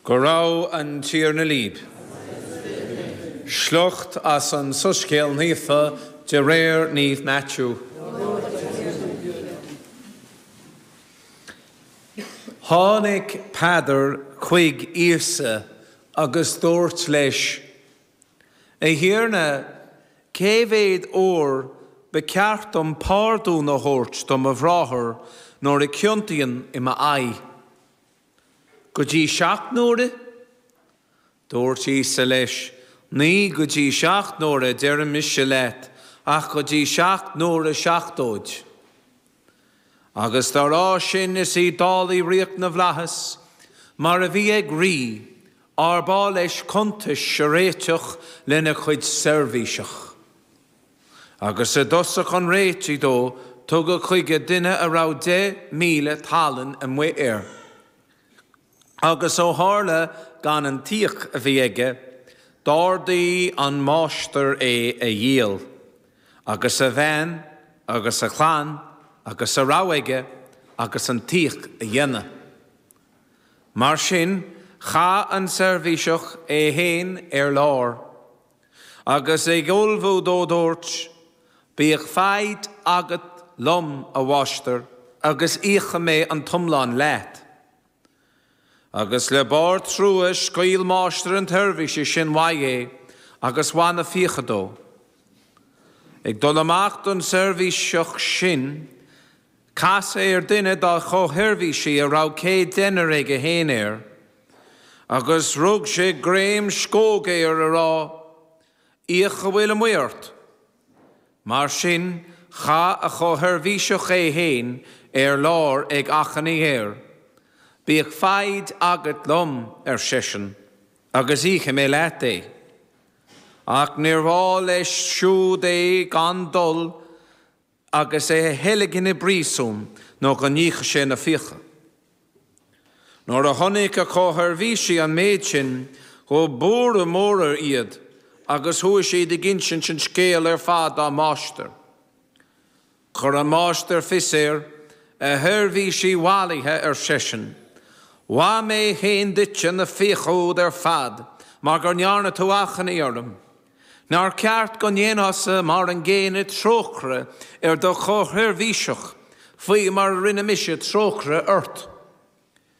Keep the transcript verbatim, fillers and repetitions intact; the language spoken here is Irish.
Go raibh an Tiarna libh. Sliocht as an Soiscéal Naofa de réir Naomh Maitiú. Tháinig Peadar chuig Íosa agus dúirt leis, A Thiarna, cé mhéad uair ba cheart dom pardún a thabhairt do mo bhráthair nuair a chiontaíonn i m'aghaidh? Go dtí seacht n-uaire? Dúirt Íosa leis, Ní go dtí seacht n-uaire deirim mise leat, ach go dtí seacht n-uaire seachtóid. Agus dá rá sin is í dálaí ríocht na bhflaitheas, mar a bhí ag rí, arb áil leis cuntais a réiteach lena chuid seirbhíseach. Agus i dtosach an réitigh dó, tugadh chuige duine a raibh deich míle tallann amuigh air. Agus ó tharla gan an t-íoc a bhí aige, d'ordaigh an máistir é a dhíol, agus a bhean agus a chlann agus a raibh aige agus an t-íoc a dhéanamh. Mar sin, chaith an seirbhíseach é féin ar lár, agus ag ullmhú dó dúirt, Bíodh foighid agat liom, a mháistir, agus íocfaidh mé an t-iomlán leat. Agus le barr trua scaoil máistir an tseirbhísigh sin uaidh é agus mhaith na fiacha dó. Ag dul amach don seirbhíseach sin, casadh air duine dá chomhsheirbhísigh a raibh céad déinear aige féin air, agus rug sé greim scóige air a rá, Íoc a bhfuil amuigh ort. Mar sin, chaith a chomhsheirbhíseach é féin ar lár ag achainí air, Bíodh foighid agat liom, ar seisean, agus íocfaidh mé leat é. Ach níorbh áil leis siúd é gan dul agus é a theilgean i bpríosún nó go n-íocfadh sé na fiacha. Nuair a chonaic a chomhsheirbhísigh an méid sin, ghabh buaireamh mór iad agus chuaigh siad ag insint an scéil ar fad dá máistir. Chuir an máistir fios air, A sheirbhísigh mhallaithe, ar seisean, mhaith mé féin duitse na fiacha úd ar fad mar go ndearna tú achainí orm. Nár cheart go ndéanfása mar an gcéanna trócaire ar do chomhsheirbhíseach, faoi mar a rinne mise trócaire ort?